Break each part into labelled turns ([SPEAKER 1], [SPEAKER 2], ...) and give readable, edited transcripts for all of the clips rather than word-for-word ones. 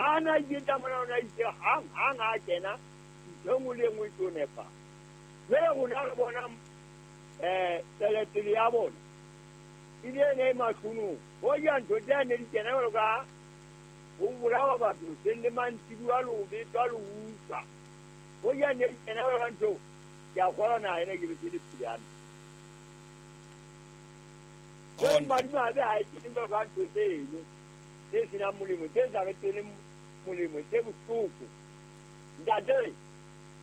[SPEAKER 1] Ha na iketsa mona o na itse hang hang ha kena ntho e nngwe le e nngwe e tlo nepa. Jwale rona re bona tswelopele ya bona e le ene e mahlonong. Hoja ntho tsena ne di kena jwalo ka ho bolawa batho hoseng le mantsibuya le ho betwa le ho utswa. Hoja ne di kena jwalo ka ntho, ke a kgolwa naha ena ke be se le phele hantle. Jwale madimabe ha e kene jwalo ka ntho tseno tse senang molemo, tse sa re tsweleng molemo, tse bohloko. Ntate,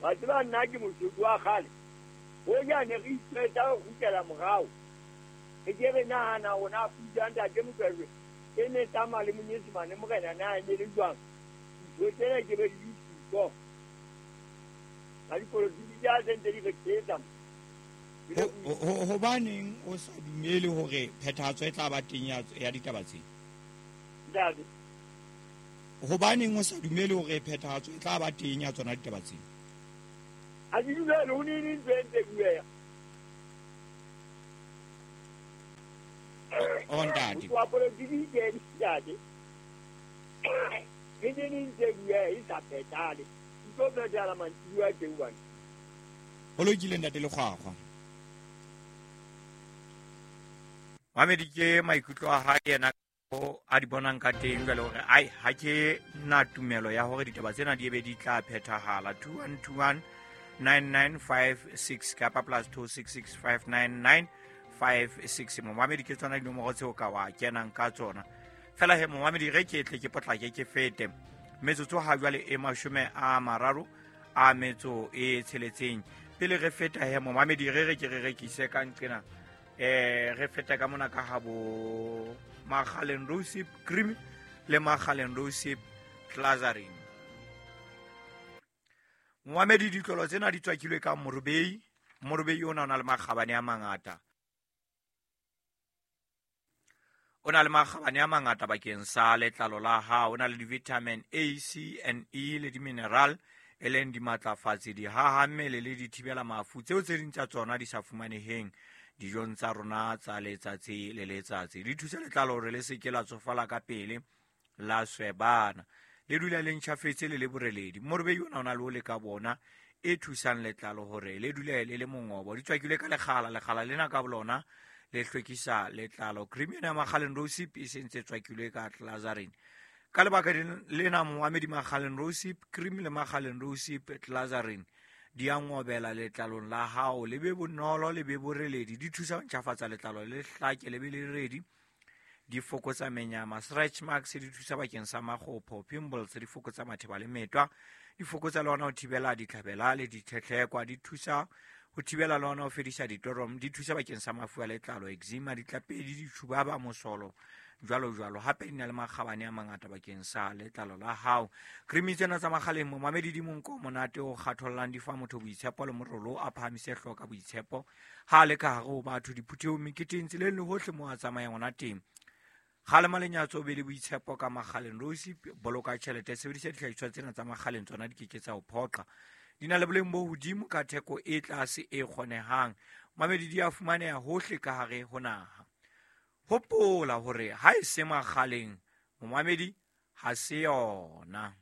[SPEAKER 1] wa tseba nna ke Mosotho wa kgale. Hoja ne re itshwetsa ho kgutlela morao, re ke re nahana hore na puso ya Ntate Mokwerekwe e ne tsamaya le Monyesemane morena na e ne le jwang. Ntho tsena ke be di le siko. Ba dipolotiki tsa se ntse di re thetsa.
[SPEAKER 2] Hobaneng o sa dumele hore phethahatso e tla ba teng ya ditaba tse?
[SPEAKER 1] Ntate.
[SPEAKER 2] Hobaneng o sa dumele hore phethahatso e tla ba teng ya tsona ditaba tse?
[SPEAKER 1] Ha ke dumele ho neng ntho e ntse bueha.
[SPEAKER 2] O ntate.
[SPEAKER 1] Wa politiki ke ntate. Ke neng ntse bueha e sa phethahale. E tlo phethahala mantsibuya teng bana.
[SPEAKER 2] Ho lokile ntate Lekgwakgwa. Mamedi ke maikutlo a hae yena a di bonang ka teng jwale hore ai ha ke na tumelo ya hore ditaba tsena di ebe di tla phethahala. 2121 9956 kapa plus 26659956. Momamedi ke tsona dinomoro tseo ka wa kenang ka tsona fela he. Momamedi re ke tle ke potlake ke fete metsotso ha jwale e 36 pele re feta he. Momamedi re re ke re rekise ka nqena, re feta ka mona ka habo Makgaleng Rosip Cream le Makgaleng Rosip Glazarin. Momamedi ditlolo tsena di tswakilwe ka morobei. Morobei ona o na le makgabane a mangata. O na le makgabane a mangata bakeng sa letlalo la hao. O na le di-vitamin A, C and E le di-mineral e leng dimatlafatsi, dihaha mmele le dithibela mafu tseo tse ding tsa tsona di sa fumaneheng dijong tsa rona tsa letsatsi le letsatsi. Di thusa letlalo hore le se ke la tsofala ka pele, la swebana, le dula le ntjhafetse le le boreledi. Morobei ona o na le o le ka bona e thusang letlalo hore le dule le le mongobo. Di tswakilwe ka lekgala, lekgala lena ka bolona le hlwekisa letlalo. Cream ena ya Makgaleng Rosip e sentse tswakilwe ka Glazarin. Ka lebaka lena momamedi, Makgaleng Rosip Cream le Makgaleng Rosip Glazarin di a ngobela letlalong la hao, le be bonolo, le be boreledi. Di thusa ho ntjhafatsa letlalo le hlake, le be le redi. Di fokotsa menyama, stretch marks, di thusa bakeng sa makgopho, pimples, di fokotsa matheba le metwa, di fokotsa le hona ho thibela ditlhabela le ditlhetlhekwa, di thusa ho thibela le hona ho fedisa ditorom, di thusa bakeng sa mafu a letlalo, eczema, ditlapedi, ditjhubaba, mosolo, jwalo jwalo. Hape di na le makgabane a mangata bakeng sa letlalo la hao. Cream tsena tsa Makgaleng momamedi di monko monate o kgathollang, di fa motho boitshepo le morolo a phahamise hlooho ka boitshepo ha le ka hare ho batho, diphuthehong, meketeng, tseleng le hohle moo a tsamayang hona teng. Kgalema lenyatso, o be le boitshepo ka Makgaleng Rosip. Boloka tjhelete, sebedisa dihlahiswa tsena tsa Makgaleng, tsona di keke tsa ho phoqa. Di na le boleng bo hodimo ka theko e tlase e kgonehang. Mamedi di a fumaneha hohle ka hare ho naha. Hopola hore ha e se Makgaleng, momamedi ha se yona.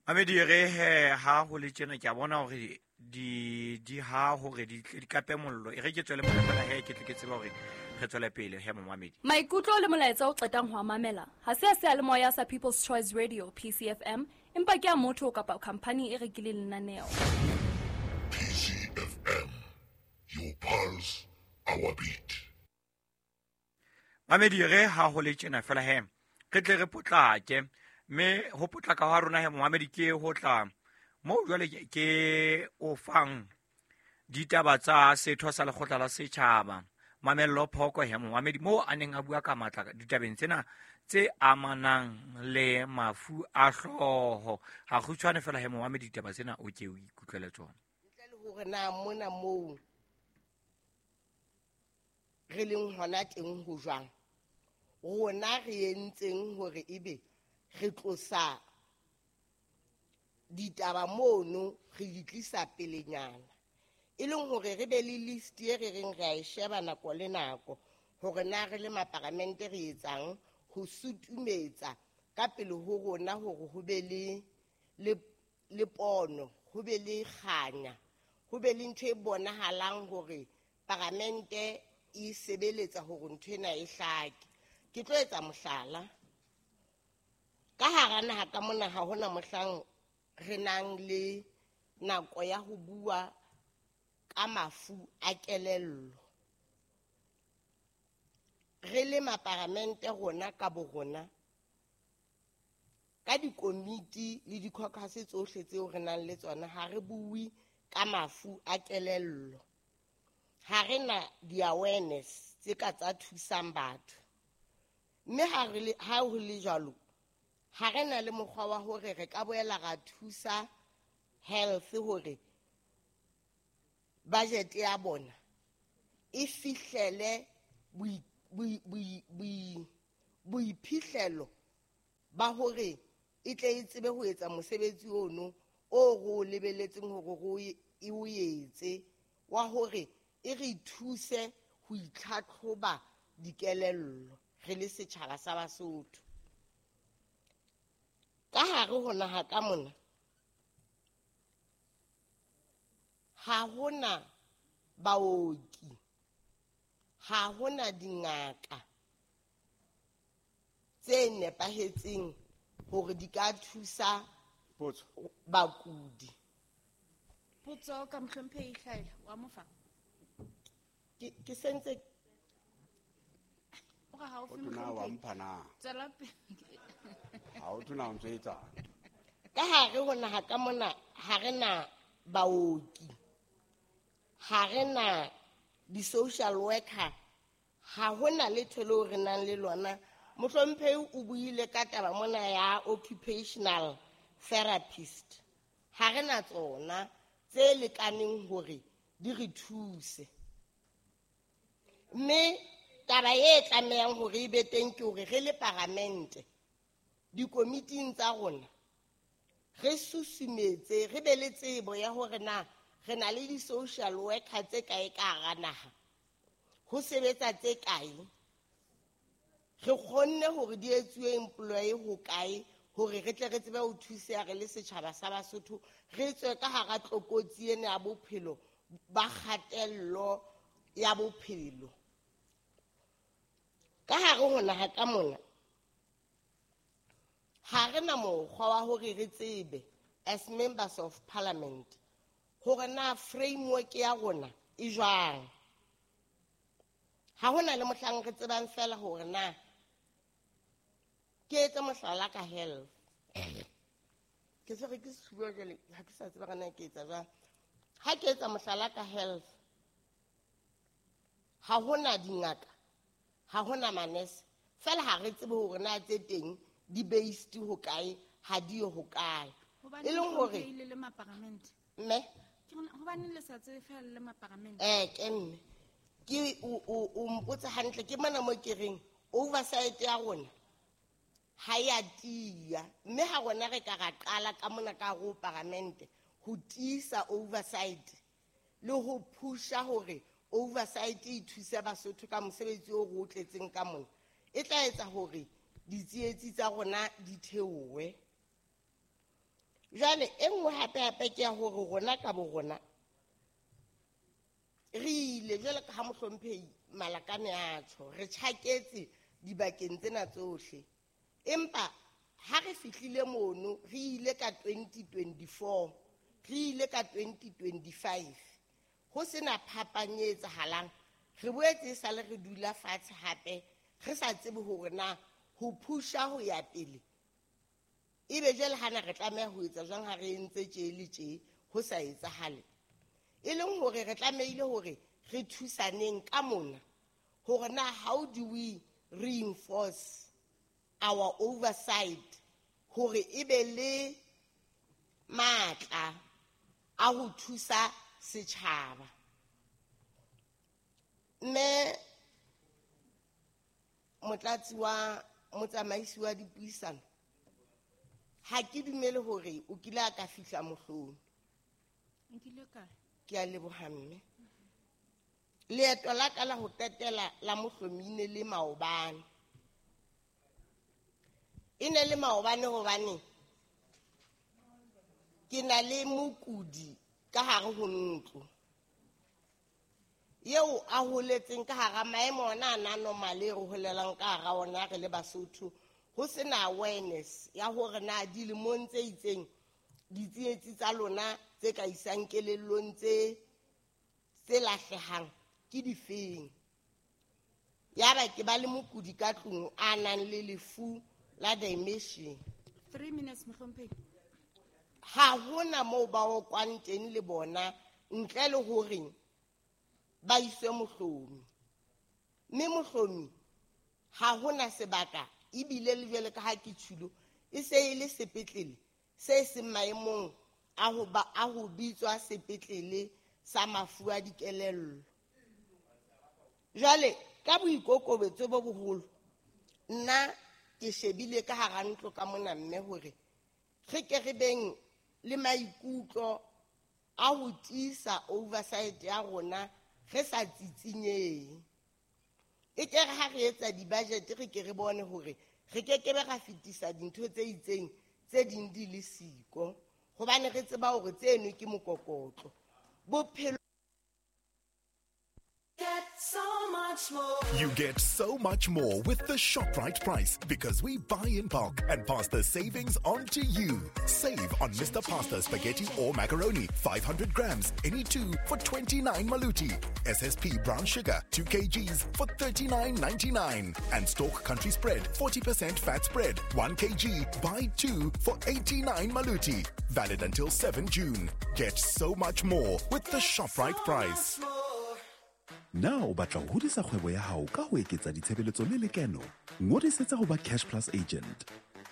[SPEAKER 2] Mamedi re he ha ho le tjena ke a bona hore di ha hore di tle di kape mollo. E re ke tswele mona fela he ke tle ke tsebe hore re tswele pele he momamedi.
[SPEAKER 3] Maikutlo le molaetsa o qetang ho a mamela ha se a seyalemoya sa People's Choice Radio PCFM, empa ke a motho kapa khampani e rekileng lenaneo.
[SPEAKER 4] PCFM, your pulse, our beat.
[SPEAKER 2] Mamedi re ha ho le tjena fela he re tle re potlake, mme ho potlaka ha rona he momamedi ke ho tla moo jwale ke o fang ditaba tsa setho sa lekgotla la setjhaba Mamello Phoko he momamedi, moo a neng a bua ka matla ditabeng tsena tse amanang le mafu a hlooho. Ha kgutshwane fela he momamedi, ditaba tsena o ke o ikutlwele tsona.
[SPEAKER 5] Ntle le hore na mona moo re leng hona teng ho jwang, rona re entseng hore ebe re tlosa ditaba mono re di tlisa pelenyana. E leng hore re be le list e re reng re a e sheba nako le nako hore na re le maparamente re etsang ho sutumetsa ka pele ho rona hore ho be le pono, ho be le kganya, ho be le ntho e bonahalang hore paramente e sebeletsa hore ntho ena e hlake. Ke tlo etsa mohlala. Ka hara naha ka mona ha hona mohlang re nang le nako ya ho bua ka mafu a kelello. Re le maparamente rona ka bo rona, ka dikomiti le di-caucus tsohle tseo re nang le tsona, ha re bue ka mafu a kelello. Ha re na di-awareness tse ka tsa thusang batho. Mme ha ho le jwalo, ha re na le mokgwa wa hore re ka boela ra thusa health hore budget ya bona e fihlele boiphihlelo ba hore e tle e tsebe ho etsa mosebetsi ono o re o lebeletseng hore e o etse wa hore e re thuse ho itlhatlhoba dikelello re le setjhaba sa Basotho. Ka hare ho naha ka mona ha hona baoki, ha hona dingaka tse nepahetseng hore di ka thusa bakudi.
[SPEAKER 6] Potso ka mohlomphehi Hlaela wa mofa.
[SPEAKER 5] Ke sentse
[SPEAKER 6] o ga o
[SPEAKER 7] tona wa mpha na.
[SPEAKER 6] Tswela pele.
[SPEAKER 7] Ha o tona o ntse etsa.
[SPEAKER 5] Ka hare ho naha ka mona ha re na baoki, ha re na di-social worker, ha hona letho leo re nang le lona. Mohlomphehi o buile ka taba mona ya occupational therapist. Ha re na tsona tse lekaneng hore di re thuse. Mme taba e tlamehang hore e be teng ke hore re le paramente dikomiting tsa rona re susumetse, re be le tsebo ya hore na re na le di-social worker tse kae ka hara naha, ho sebetsa tse kae, re kgonne hore di etsuwe employee ho kae hore re tle re tsebe ho thuseha re le setjhaba sa Basotho, re tswe ka hara tlokotsi ena ya bophelo ba kgatello ya bophelo. Ka hare ho naha ka mona ha re na mokgwa wa hore re tsebe as members of parliament hore na framework ya rona e jwang. Ha hona le mohlang re tsebang fela hore na ke etse mohlala ka health. Ke se re ke sefuba jwale, ha ke sa tseba na ke etsa jwang. Ha ke etsa mohlala ka health, ha hona dingaka, ha hona manese, fela ha re tsebe hore na tse teng di based ho kae, ha di yo ho kae. E leng hore
[SPEAKER 6] le maparamente.
[SPEAKER 5] Mme
[SPEAKER 6] ke hobane le sa tsebe fela le maparamente.
[SPEAKER 5] Ke mme ke o mpotsa hantle, ke mona mo ke reng oversight ya rona ha ya tiya, mme ha rona re ka ra qala ka mona ka ho paramente ho tiisa oversight le ho pusha hore oversight e thuse Basotho ka mosebetsi o re o tletseng ka mona, e tla etsa hore ditsietsi tsa rona di theohe. Jwale e nngwe hape hape ke ya hore rona ka bo rona re ile jwale ka ha mohlomphehi Malakane a tjho, re tjhaketse dibakeng tsena tsohle, empa ha re fihlile mono re ile ka 2024, re ile ka 2025, ho sena phapang e etsahalang. Re boetse e sale re dula fatshe hape re sa tsebe hore na ho pusha ho ya pele ebe jwale hana re tlameha ho etsa jwang ha re entse tje le tje ho sa etsahale. E leng hore re tlamehile hore re thusaneng ka mona hore na how do we reinforce our oversight hore e be le matla a ho thusa setjhaba. Mme motlatsi wa motsamaisi wa dipuisano, Ha ke dumele hore o kile a ka fihla Mohlomi.
[SPEAKER 6] Nkile kae?
[SPEAKER 5] Ke a leboha mme. Leeto la ka la ho qetela la Mohlomi e ne le maobane. E ne le maobane hobane ke na le mokudi ka hare ho ntlo eo a holetseng ka hara maemo ona a na normal e re holelang ka hara ona re le Basotho, ho sena awareness ya hore na dilemong tse itseng ditsietsi tsa lona tse ka isang kelellong tse lahlehang ke difeng. Yaba ke ba le mokudi ka tlung a nang le lefu la dementia.
[SPEAKER 6] 3 minutes mohlomphehi.
[SPEAKER 5] Ha hona moo ba okwang teng le bona ntle le hore ba iswe Mohlomi. Mme Mohlomi ha hona sebaka ebile le jwale ka ha ke tshilo e se e le sepetlele se seng maemong a ho ba a ho bitswa sepetlele sa mafu a dikelello. Jwale ka boikokobetso bo boholo nna ke shebile ka hara ntlo ka mona mme hore re ke re beng le maikutlo a ho tiisa oversight ya rona re sa tsitsinyeng. E ke re ha re etsa di-budget re ke re bone hore re ke ke be ra fetisa dintho tse itseng tse ding di le siko hobane re tseba hore tseno ke mokokotlo. Bophelo.
[SPEAKER 8] Get so much more.
[SPEAKER 4] You get so much more with the ShopRite price because we buy in bulk and pass the savings on to you. Save on Mr. Pasta spaghetti or macaroni, 500 grams, any two for 29 maluti. SSP brown sugar, 2 kgs for 39.99. And Stork Country Spread, 40% fat spread, 1 kg, buy 2 for 89 maluti. Valid until 7 June. Get so much more with the ShopRite price.
[SPEAKER 9] Na o batla ho hodisa kgwebo ya hao ka ho eketsa ditshebeletso le lekeno? Ngodisetsa ho ba Cash Plus agent.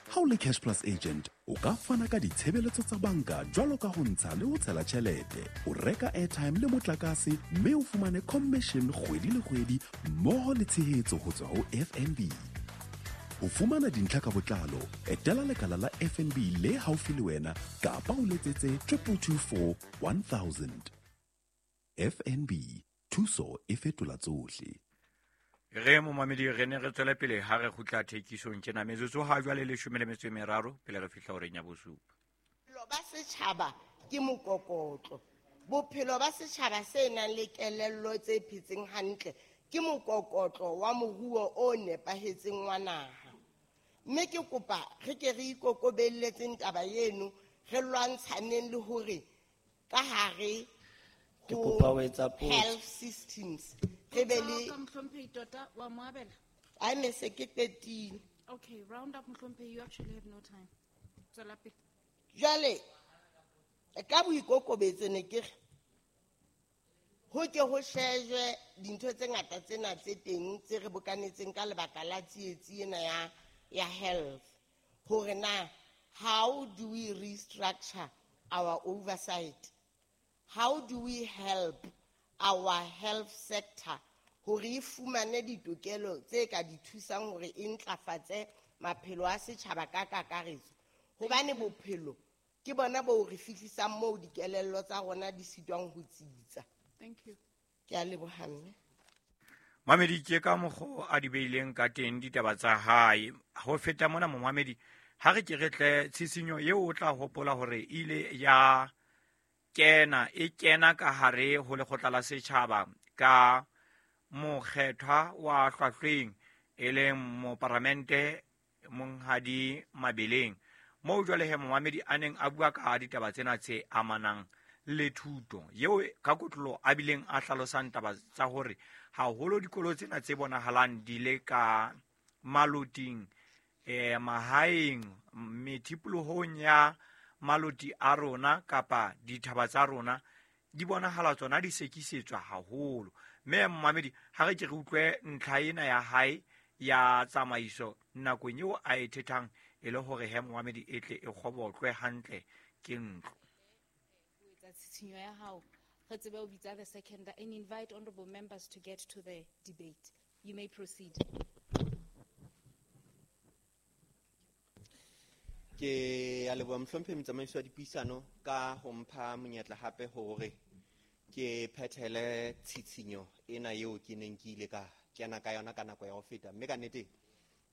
[SPEAKER 9] Ha o le Cash Plus agent, o ka fana ka ditshebeletso tsa banka jwalo ka ho ntsha le ho tshela tjhelete, o reka airtime le motlakase, mme o fumane commission kgwedi le kgwedi mmoho le tshehetso ho tswa ho FNB. Ho fumana dintlha ka botlalo, etela lekala la FNB le haufi le wena kapa o letsetse 2224 1000. FNB, thuso e fetola tsohle.
[SPEAKER 2] Re momamedi re ne re tswele pele ha re kgutla thekisong tjena metsotso ha jwale 13 pele re fihla horeng ya bosupa.
[SPEAKER 5] Bophelo ba setjhaba ke mokokotlo. Bophelo ba setjhaba se nang le kelello tse phetseng hantle ke mokokotlo wa moruo o nepahetseng wa naha. Mme ke kopa re ke re ikokobelletseng taba eno, re lwantshaneng le hore ka hare
[SPEAKER 10] Ke kopa ho etsa potso.
[SPEAKER 5] Health systems. Re be le
[SPEAKER 6] Ka mohlomphehi tota wa mo abela?
[SPEAKER 5] Ai me se ke qetile.
[SPEAKER 6] Okay, round up mohlomphehi, you actually have no time. Tswela pele.
[SPEAKER 5] Jwale ka boikokobetso ne ke re ho ke ho shejwe dintho tse ngata tsena tse teng tse re bokanetseng ka lebaka la tsietsi ena ya health. Hore na how do we restructure our oversight? How do we help our health sector hore e fumane ditokelo tse ka di thusang hore e ntlafatse maphelo a setjhaba ka kakaretso? Hobane bophelo ke bona bo re fihlisang moo dikelello tsa rona di sitwang ho tsitsa.
[SPEAKER 6] Thank you.
[SPEAKER 5] Ke a leboha mme.
[SPEAKER 2] Mamedi ke ka mokgo a di beileng ka teng ditaba tsa hae. Ho feta mona momamedi, ha re ke re tle tshisinyo eo o tla hopola hore ile ya kena e kena ka hare ho lekgotla la setjhaba ka mokgethwa wa hlwahlweng e leng moparamente Monghadi Mabeleng, moo jwale he momamedi a neng a bua ka ditaba tsena tse amanang le thuto eo ka kotlolo a bileng a hlalosang taba tsa hore haholo dikolo tsena tse bonahalang di le ka maloting, mahaeng, methipolohong ya maloti a rona kapa dithaba tsa rona di bonahala tsona di sekisetswa haholo. Mme momamedi ha re ke re utlwe ntlha ena ya hae ya tsamaiso nakong eo a e thethang e le hore he momamedi e tle e kgobotlwe hantle ke ntlo.
[SPEAKER 6] Etsa tshitshinyo ya hao re tsebe ho bitsa the second and invite honorable members to get to the debate. You may proceed.
[SPEAKER 11] Ke a leboha mohlomphehi motsamaisi wa dipuisano ka ho mpha monyetla hape hore ke phethele tshitshinyo ena eo ke neng ke ile ka kena ka yona ka nako ya ho feta, mme ka nnete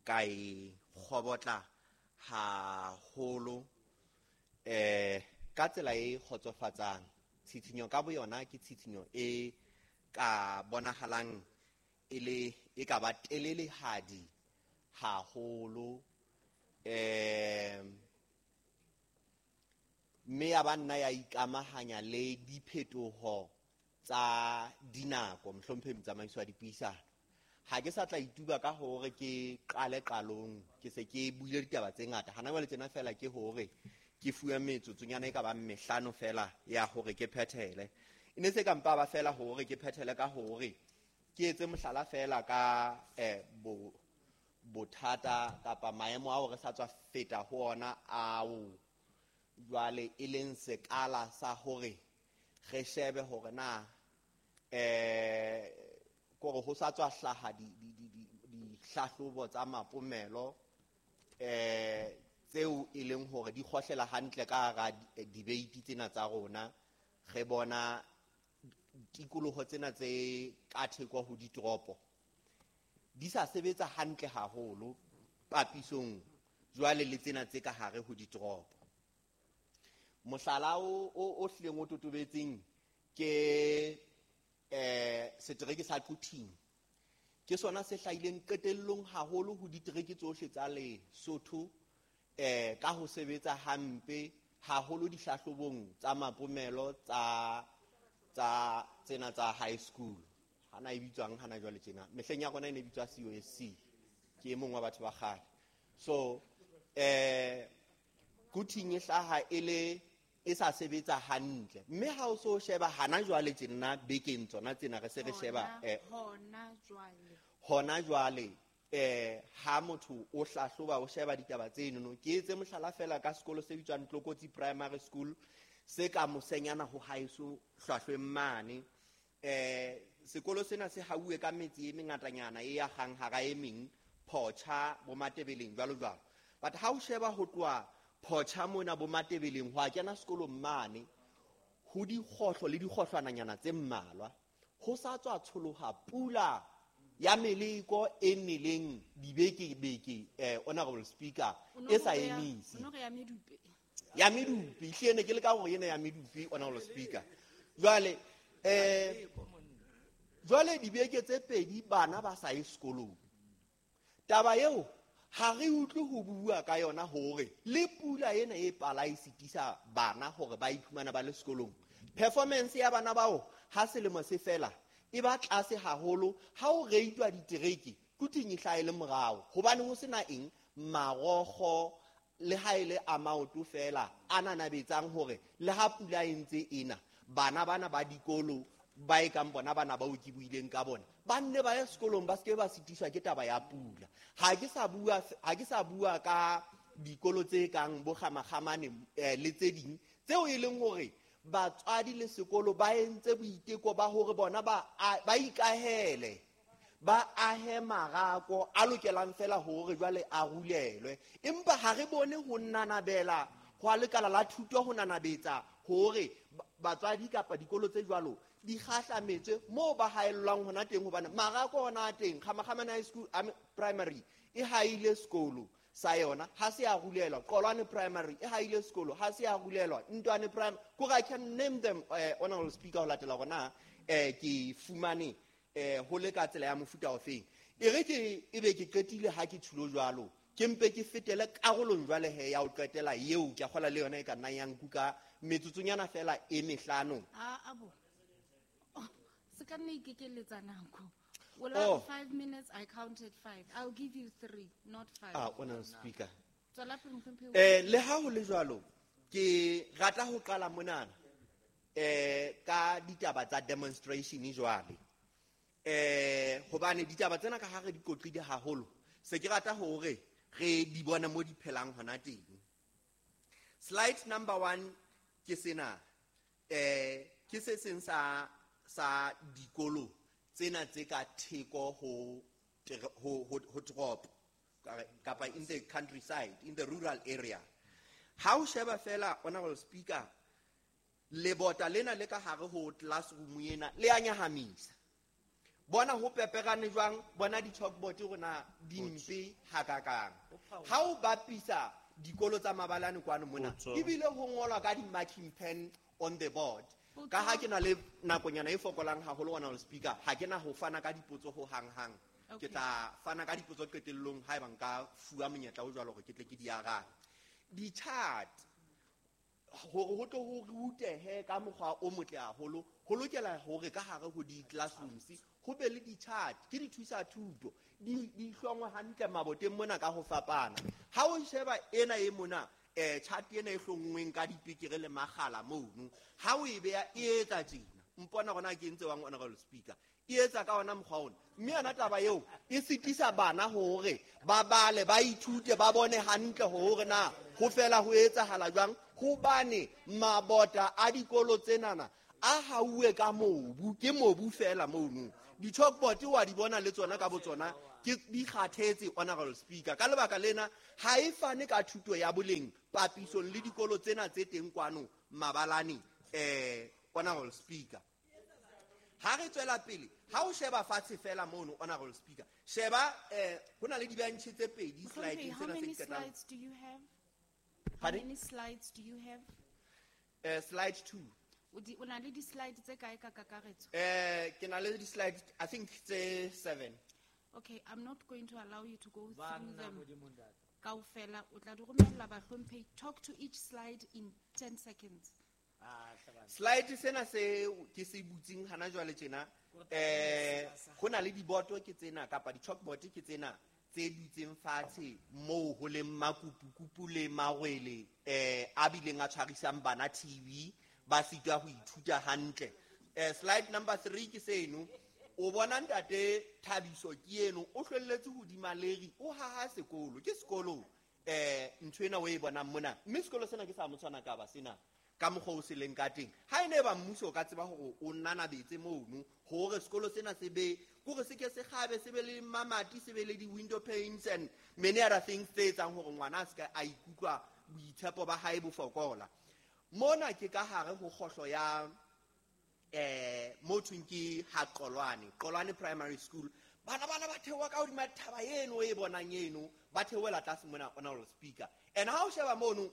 [SPEAKER 11] ka e kgobotla haholo ka tsela e kgotsofatsang. Tshitshinyo ka boyona ke tshitshinyo e ka bonahalang e le e ka ba telelehadi haholo, mme ya ba nna ya ikamahanya le diphetoho tsa dinako. Mohlomphehi motsamaisi wa dipuisano, ha ke sa tla ituba ka hore ke qale qalong, ke se ke buile ditaba tse ngata. Hana jwale tjena fela ke hore ke fuwe metsotsonyana e ka bang mehlano fela ya hore ke phethele. E ne se ka mpa ba fela hore ke phethele ka hore ke etse mohlala fela ka bothata kapa maemo ao re sa tswa feta ho ona ao jwale e leng sekala sa hore re shebe hore na kore ho sa tswa hlaha dihlahlobo tsa mapomelo tseo e leng hore di kgohlela hantle ka hara debate tsena tsa rona. Re bona tikoloho tsena tse ka theko ho ditoropo di sa sebetsa hantle haholo papisong jwale le tsena tse ka hare ho ditoropo. Mohlala o hlileng o totobetseng ke setereke sa Quthing. Ke sona se hlahileng qetellong haholo ho ditereke tsohle tsa Lesotho ka ho sebetsa hampe haholo dihlahlobong tsa mapomelo tsa tsena tsa high school. Hana e bitswang hana jwale tjena, mehleng ya rona e ne bitswa COSC, ke e mong wa batho ba kgale. So Quthing e hlaha e le e sa sebetsa hantle, mme ha o so sheba hana jwale tjena bekeng tsona tsena re se re sheba hona jwale ha motho o hlahloba o sheba ditaba tseno. Ke etse mohlala fela ka sekolo se bitswang Tlokotsi Primary School se ka mosenyana ho haeso hlwahlweng mane. Sekolo sena se hauwe ka metsi e mengatanyana e akgang hara e meng, Phocha, bo Matebeleng jwalo jwalo. But ha o sheba ho tloha Phocha mona bo Matebeleng ho a kena sekolong mane ho dikgohlo le dikgohlwananyana tse mmalwa, ho sa tswa tsholoha pula ya meleko e neleng dibeke-beke, honorable speaker, e sa emise. Ya medupe, ehlile ne ke le ka hore ena ya medupe, honorable speaker. Jwale jwale dibeke tse pedi bana ba sa ye sekolong. Taba eo ha re utlwe ho bua ka yona hore le pula ena e pala e sitisa bana hore ba iphumana ba le sekolong. Performance ya bana bao ha selemo se fela e ba tlase haholo. Ha o reitwa ditereke Quthing e hlahe le morao, hobane ho sena eng marokgo le ha e le a maoto fela a nanabetsang hore le ha pula e ntse ena bana bana ba dikolo ba e kang bona bana bao ke buileng ka bona ba nne ba ye sekolong, ba seke ba sitiswa ke taba ya pula. Ha ke sa bua ka dikolo tse kang bo Kgamakgamane le tse ding tseo e leng hore batswadi le sekolo ba entse boiteko ba hore bona ba ikahele, ba ahe marako a lokelang fela hore jwale a rulelwe, empa ha re bone ho nanabela ho a lekala la thuto ho nanabetsa hore batswadi kapa dikolo tse jwalo di kgahlametswe moo ba haellwang hona teng, hobane marako ona a teng. Kgamakgamane High School Primary e haile sekolo sa yona ha se a rulelwa, Qolwane Primary e haile sekolo ha se a rulelwa, Ntwane Primary, kore I can name them, honorable speaker, ho latela hore ke fumane ho le ka tsela ya mofuta ofeng. E re ke ebe ke qetile ha ke tshilo jwalo, ke mpe ke fetele karolong jwale he ya ho qetela eo ke a kgola le yona e ka nnang ya nkuka metsotsonyana fela e mehlano.
[SPEAKER 6] Se ka nna ikekeletsa nako. Well, 5 minutes, I counted 5. I'll give you 3, not 5.
[SPEAKER 11] Honorable speaker.
[SPEAKER 6] Tswela pele, mohlomphehi.
[SPEAKER 11] Le ha ho le jwalo, ke rata ho qala monana ka ditaba tsa demonstration jwale. Hobane ditaba tsena ka ha re di qoqile haholo, se ke rata hore re di bone mo di phelang hona teng. Slide number 1 ke sena, ke se seng sa dikolo tsena tse ka theko ho toropo kapa in the countryside, in the rural area. Ha o sheba fela, Honorable Speaker, lebota lena le ka hare ho classroom ena le a nyahamisa. Bona ho peperane jwang, bona di-chalkboard rona di mpe hakakang. Ha o bapisa dikolo tsa mabalane kwano mona, ebile ho ngolwa ka di-marking pen on the board. Ka ha ke na le nakonyana e fokolang haholo, Honorable Speaker, ha ke na ho fana ka dipotso ho hang-hang. Ke tla fana ka dipotso qetellong haeba nka fuwa monyetla o jwalo hore ke tle ke di arabe. Di-chart hore ho tlo ho rutehe ka mokgwa o motle haholo, ho lokela hore ka hare ho di-classrooms ho be le di-chart, ke dithusa thuto, di hlongwe hantle maboteng mona ka ho fapana. Ha o sheba ena e mona, chart ena e hlonngweng ka dipekere le makgala mono, ha o e beha e etsa tjena. Mpona hona ke ntse wang, Honorable Speaker, e etsa ka ona mokgwa ona. Mme yona taba eo e sitisa bana hore ba bale, ba ithute, ba bone hantle hore na ho fela ho etsahala jwang, hobane mabota a dikolo tsenana a hauwe ka mobu, ke mobu fela mono. Di-chalkboard wa di bona le tsona ka botsona ke di kgathetse, Honorable Speaker. Ka lebaka lena ha e fane ka thuto ya boleng papisong le dikolo tsena tse teng kwano mabalane, Honorable Speaker. Ha re tswela pele, ha o sheba fatshe fela mono, Honorable Speaker, sheba ho na le di-bench tse pedi slide
[SPEAKER 6] How
[SPEAKER 11] tsena tse
[SPEAKER 6] many
[SPEAKER 11] qetang.
[SPEAKER 6] slides do you have? How
[SPEAKER 11] Pardon?
[SPEAKER 6] many slides do you have?
[SPEAKER 11] Slide 2.
[SPEAKER 6] O na le di-slide tse kae ka kakaretso?
[SPEAKER 11] Ke na le di-slide, I think tse 7.
[SPEAKER 6] Okay, I'm not going to allow you to go through
[SPEAKER 12] Banna
[SPEAKER 6] them.
[SPEAKER 12] Modimo ntate.
[SPEAKER 6] Kaofela, o tla di romella bahlomphehi. Talk to each slide in 10 seconds.
[SPEAKER 11] Slide sena se ke se butseng hana jwale tjena, ho na le diboto ke tsena kapa di-chalkboard ke tsena tse dutseng fatshe moo ho leng makupukupu le marwele, a bileng a tshwarisang bana TV, ba sitwa ho ithuta hantle. Slide number 3 ke seno. O bona ntate Thabiso ke eno, o hlwelletse hodima leri, o haha sekolo. Ke sekolo, ntho ena o e bonang mona. Mme sekolo sena ke sa motshwana ka ba sena, ka mokgwa o se leng ka teng. Ha e ne ba mmuso o ka tseba hore o nanabetse mono, hore sekolo sena se be, kore se ke se kgabe, se be le mamati, se be le di-window panes and many other things tse etsang hore ngwana a se ka a ikutlwa boitshepo ba hae bo fokola. Mona ke ka hare ho kgohlo ya, mo thweng ke ha Qolwane, Qolwane Primary School. Bana bana ba theoha ka hodima thaba eno e bonang eno, ba theohela tlase mona, Honorable Speaker. And ha o sheba mono,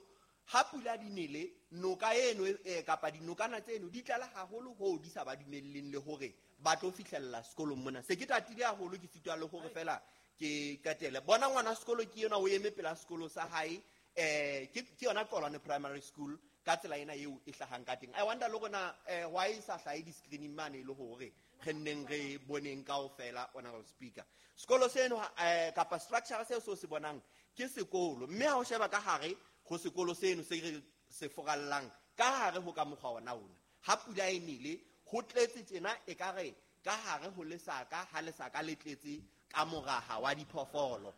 [SPEAKER 11] ha pula di nele, noka eno, kapa dinokana tseno di tlala haholo hoo di sa ba dumelleng le hore ba tlo fihlella sekolong mona. Se ke tatile haholo, ke sitwa le hore fela ke qetele. Bona ngwana sekolo ke yena o eme pela sekolo sa hae, ke yona Qolwane Primary School ka tsela ena eo e hlahang ka teng. I wonder le rona, why e sa hlahe di-screening mane e le hore re nneng re boneng kaofela, Honorable Speaker. Sekolo seno, kapa structure seo se o se bonang ke sekolo, mme ha o sheba ka hare ho sekolo seno se re se forallang ka hare ho ka mokgwa ona ona, ha pula e nele ho tletse tjena, ekare ka hare ho lesaka, ha lesaka le tletse ka moraha wa diphoofolo.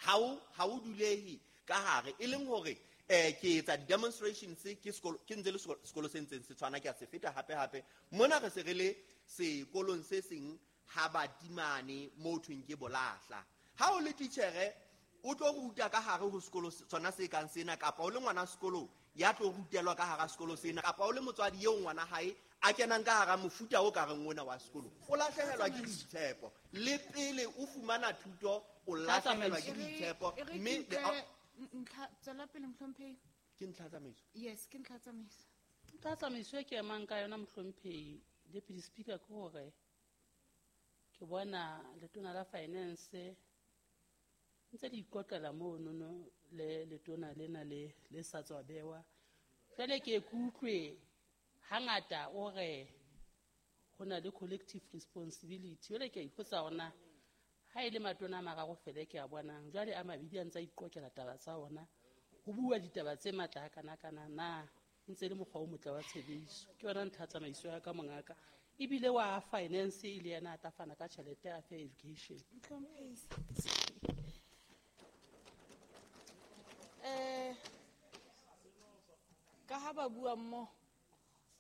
[SPEAKER 11] Ha o dulehe ka hare, e leng hore, ke etsa di-demonstrations, ke sekolo, ke ntse le sekolo se ntseng se tshwana, ke a se feta hape hape. Mona re se re le sekolong se seng ha batimane mo thweng ke bolahla. Ha o le titjhere, o tlo ruta ka hare ho sekolo sona se kang sena, kapa o le ngwana sekolo ya tlo rutelwa ka hara sekolo sena, kapa o le motswadi eo ngwana hae a kenang ka hara mofuta o ka reng ona wa sekolo, o lahlehelwa ke boitshepo. Le pele o fumana thuto, o lahlehelwa ke boitshepo. Mme le
[SPEAKER 6] Ntlha, tswela pele, mohlomphehi.
[SPEAKER 11] Ke ntlha tsamaiso?
[SPEAKER 6] Yes, ke ntlha tsamaiso.
[SPEAKER 13] Ntlha tsamaiso e ke emang ka yona, mohlomphehi, Deputy Speaker, ke hore ke bona letona la finance ntse le ikotlela monono le letona lena le sa tswa bewa. Jwale ke ikutlwe hangata o re ho na le collective responsibility. Jwale ke a ipotsa hore na ha e le matona a mararo fela ke a bonang, jwale a mabedi a ntse a iqokela taba tsa ona, ho bua ditaba tse matla hakana-kana, na ntse le mokgwa o motle wa tshebediso. Ke yona ntlha tsamaiso ya ka, mongaka. Ebile wa finance e le yena a tla fana ka tjhelete a fe education.
[SPEAKER 6] Ka ha ba bua mmoho,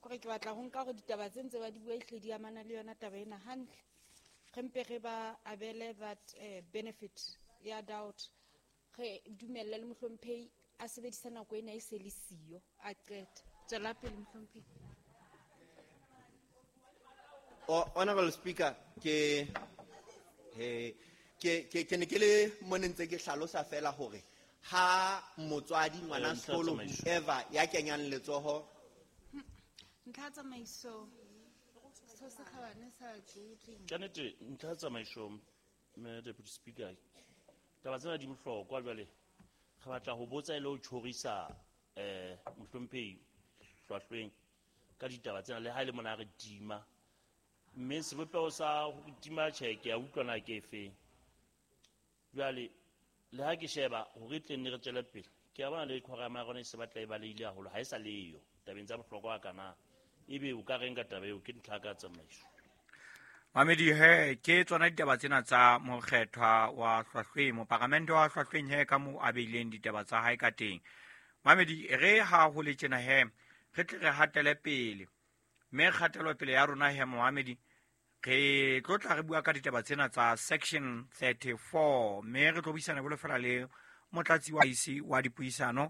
[SPEAKER 6] kore ke batla ho nka hore ditaba tse ntse ba di bua ehlile di amana le yona taba ena hantle. Re mpe re ba abele that benefit ya doubt. Re dumelle le mohlomphehi A sebedisa nako ena e se le siyo a qeta. Tswela pele mohlomphehi.
[SPEAKER 11] Honorable Speaker, ke he ke ne ke le mo ne ntse ke hlalosa fela hore ha motswadi ngwana
[SPEAKER 12] Ntlha
[SPEAKER 11] sekolo
[SPEAKER 12] tsamaiso.
[SPEAKER 11] Whoever ya kenyang letsoho.
[SPEAKER 6] Ntlha ya tsamaiso. Setho se kgabane sa Tlotleng.
[SPEAKER 12] Ka nnete ntlha ya tsamaiso, mme Deputy Speaker, taba tsena di bohlokwa. Jwale re batla ho botsa e le ho tjhorisa mohlomphehi hlwahlweng ka ditaba tsena, le ha e le mona re tima, mme sebopeho sa ho tima tjhe ke a utlwa na ke efeng. Jwale le ha ke sheba hore tle nne re tswele pele, ke a bona le quorum ya rona e se batla e balehile haholo, ha e sa leyo tabeng tsa bohlokwa kana ebe o ka reng ka taba eo? Ke ntlha ka tsamaiso.
[SPEAKER 2] Mamedi he, ke tsona ditaba tsena tsa mokgethwa wa hlwahlweng, moparamente wa hlwahlweng he, ka moo a beileng ditaba tsa hae ka teng. Mamedi, re ha ho le tjena he, re tle re hatele pele, mme kgatelopele ya rona he, momamedi, re tlo tla re bua ka ditaba tsena tsa section 34, mme re tlo buisana bolo fela le motlatsi wa isi wa dipuisano.